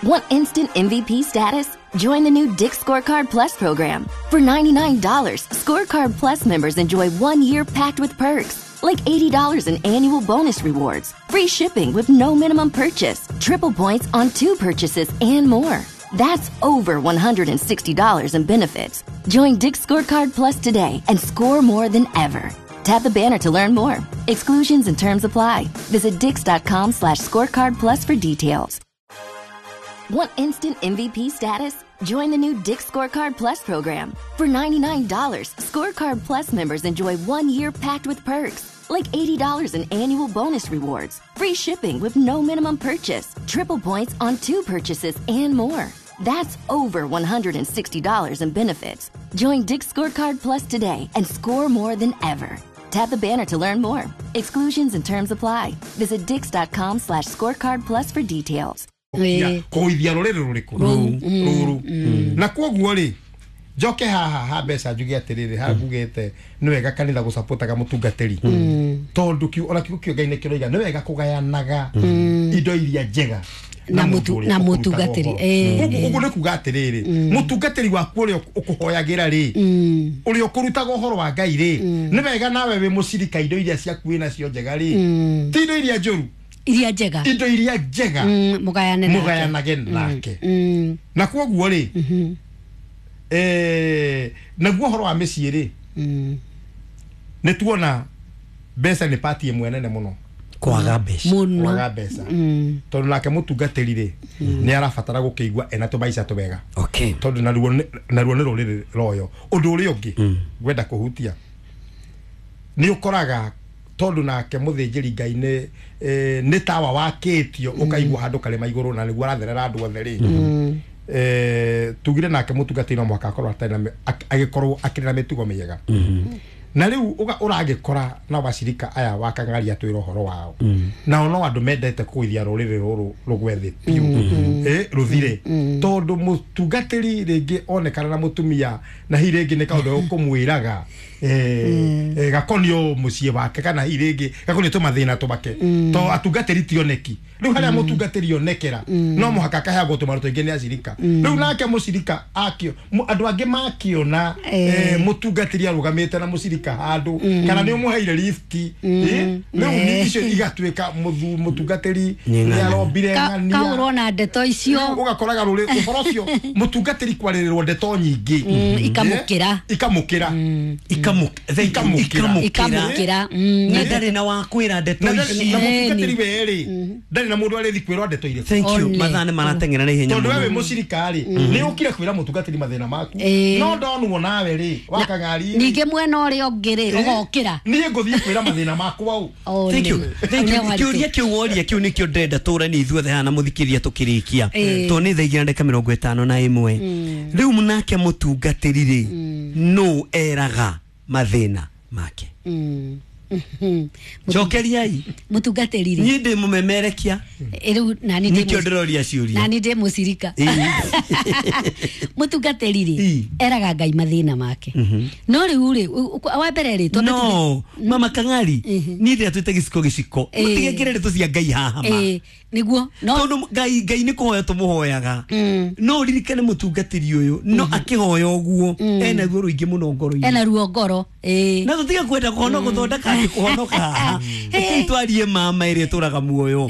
Want instant MVP status? Join the new Dick's Scorecard Plus program. For $99, Scorecard Plus members enjoy 1 year packed with perks, like $80 in annual bonus rewards, free shipping with no minimum purchase, triple points on two purchases, and more. That's over $160 in benefits. Join Dick's Scorecard Plus today and score more than ever. Tap the banner to learn more. Exclusions and terms apply. Visit dicks.com/scorecard plus for details. Want instant MVP status? Join the new Dick's Scorecard Plus program. For $99, Scorecard Plus members enjoy 1 year packed with perks, like $80 in annual bonus rewards, free shipping with no minimum purchase, triple points on two purchases, and more. That's over $160 in benefits. Join Dick's Scorecard Plus today and score more than ever. Tap the banner to learn more. Exclusions and terms apply. Visit dicks.com/scorecard plus for details. Kũgũithia rũrĩrĩ rũrĩkũ rũrũ? Na kwoguo rĩ, njoke haha ha mbeca, njuge atĩrĩrĩ, haha ngugĩte nĩ wega kanitha gũcapotaga mũtungatĩri, tondũ ona kiugo kĩo Ngai nĩ kĩroiga nĩ wega kũgayanaga indo iria njega Na mũndũ ũrĩa na ũkũrutaga mũtungatĩri. ũhoro. Koguo ũguo nĩ kuga atĩrĩrĩ, mũtungatĩri waku ũrĩa ũkũhoyagĩra rĩ, ũrĩa ũkũrutaga ũhoro wa Ngai rĩ, nĩ wega nawe wĩ mũcirika indo iria ciaku wĩ nacio njega rĩ, ti indo iria njũru, iria njega, indo iria njega, mũgayane nake. Mũgayanage nake. Na kwoguo rĩ, naguo ũhoro wa mĩciĩ rĩ, nĩ tuona mbeca nĩ pati ĩmwe nene mũno. Kwaga mbeca. Mũno. Kwaga mbeca, tondũ nake mũtungatĩri rĩ, nĩ arabatara gũkĩigua ena tũmaica twega, tondũ naruo nĩ rũrĩrĩ royo. Ũndũ ũrĩa ũngĩ ngwenda kũhutia nĩ ũkoraga tondũ nake mũthĩnjĩri Ngai nĩ nĩ tawa wakĩtio ũkaigua handũ karĩma igũrũ na nĩguo aratherera andũ othe rĩ, tugire nake mũtungatĩri no mũhaka akorwo atarĩ na agĩkorwo akĩrĩ na mĩtugo mĩega. Na rĩu ũragĩkora na wacirika aya wa Kang'aria twĩra ũhoro wao, nao no andũ mendete kũgũithia rũrĩrĩ rũrũ rũgwe thĩ biũ, rũthire, tondũ mũtungatĩri rĩngĩ onekana na mũtumia na hihi rĩngĩ nĩ kaũndũ ũkũmwĩraga gakonio mũciĩ wake, kana hihi rĩngĩ gakonio tũmathĩna twake, to atungatĩri tioneki. Rĩu harĩa mũtungatĩri onekera no mũhaka akaheagwo tũmarũ tũingĩ nĩ acirika. Rĩu nake mũcirika akĩo andũ angĩ makĩona mũtungatĩri arũgamĩte na mũcirika handũ, kana nĩ ũmũheire lift, rĩu nĩ icio igatuĩka mũtungatĩri Nĩ nĩ ng'ania. arombire ng'ania. Kahũrwo na ndeto icio. Rĩu ũgakoraga rũrĩ ũhoro ũcio mũtungatĩri kwarĩrĩrwo ndeto nyingĩ. Ikamũkĩra. Ikamũkĩra. Ikamũkĩra. Ikamũkĩra. Ikamũkĩra. Na ndarĩ na wa kwĩra ndeto na ici. na mũtungatĩri werĩ ndarĩ na mũndũ arĩthi kwĩrwo ndeto irĩkũ. Thank you. One. Mathaa nĩ marateng'era na ihenya Tondũ we wĩ mũno. mũcirika rĩ, nĩ ũkire kwĩra mũtungatĩri mathĩna maku, no ndonwo nawe rĩ wakang'ari rĩ, Ningĩ mwena ũrĩa ũngĩ rĩ, ũgokĩra. Niĩ ngũthiĩ kwĩra mathĩna makwa ũ? One. Thank you. Thank you. Nĩ waritũ. Kĩũria kĩu woria kĩu nĩkĩo ndĩrenda tũranie ithuothe haha na mũthikĩria tũkĩrĩkia, tondũ nĩ thaa 2:51. Rĩu nake mũtungatĩri rĩ, nũ eraga mathĩna make? Cokeriai. Mũtungatĩri rĩ, Niĩ ndĩ mũmemerekia. Rĩu nani ndĩ Nĩkĩo ndĩroria ciũria. Nani ndĩ mũcirika. Mũtungatĩri rĩ, eraga Ngai mathĩna make. No rĩu rĩ, wa mbere rĩ, twambe No mama Kang'ari, niĩ ndĩra twĩte gĩciko gĩciko, mũtigekĩre ndeto cia Ngai haha ma. Nĩguo no Tondũ Ngai nĩ kũhoya tũmũhoyaga, no ũririkane mũtungatĩri ũyũ no akĩhoya ũguo ena ruo rũingĩ mũno ngoro-inĩ. Ena ruo ngoro. Na tũtige kwenda kũhonoka gũthondeka atĩ kũhonoka haha. Rekei twarie mama ĩrĩa ĩtũraga muoyo.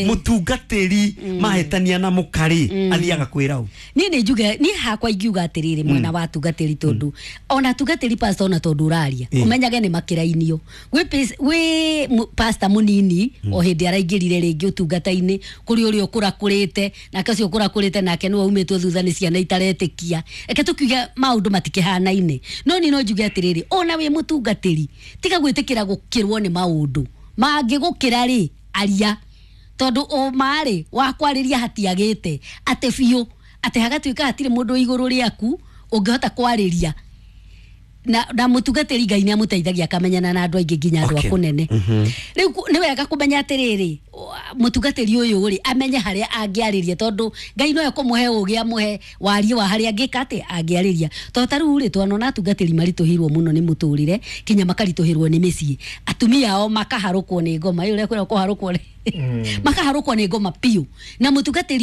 Mũtungatĩri mahĩtania na mũkarĩ athiaga kwĩra ũ? Niĩ nĩ njuge, niĩ hakwa ingiuga atĩrĩrĩ, mwena wa atungatĩri, tondũ ona atungatĩri, pastor, ona tondũ ũraria, ũmenyage nĩ makĩrainio gwĩ pastor mũnini o hĩndĩ araingĩrire rĩngĩ ũtungata-inĩ, kũrĩ ũrĩa ũkũrakũrĩte nake, ũcio ũkũrakũrĩte nake nĩwe umĩtwo thutha nĩ ciana itaretĩkia. Reke tũkiuge maũndũ matikĩhanaine, no niĩ no njuge atĩrĩrĩ, ona wĩ mũtungatĩri, tiga gwĩtĩkĩra gũkĩrwo nĩ maũndũ mangĩgũkĩra rĩ, aria, tondũ ũma-rĩ wa kwarĩria hatiagĩte atĩ biũ atĩ hagatuĩka hatirĩ mũndũ igũrũ rĩaku ũngĩhota kwarĩria. Na mũtungatĩri Ngai nĩ amũteithagia akamenyana na andũ aingĩ, nginya andũ a kũnene. Rĩu nĩ wega kũmenya atĩrĩrĩ, mũtungatĩri ũyũ rĩ, amenye harĩa angĩarĩria, tondũ Ngai no ekũmũhe ũgĩ, amũhe warie wa harĩa angĩka atĩ angĩarĩria. Tondũ ta rĩu rĩ, twanona atungatĩri maritũhĩirwo mũno nĩ mũtũrĩre, kinya makaritũhĩrwo nĩ mĩciĩ, atumia ao makaharũkwo nĩ ngoma ĩyo, ũrĩa kwĩrwo kũharũkwo rĩ, makaharũkwo nĩ ngoma biũ na mũtungatĩri.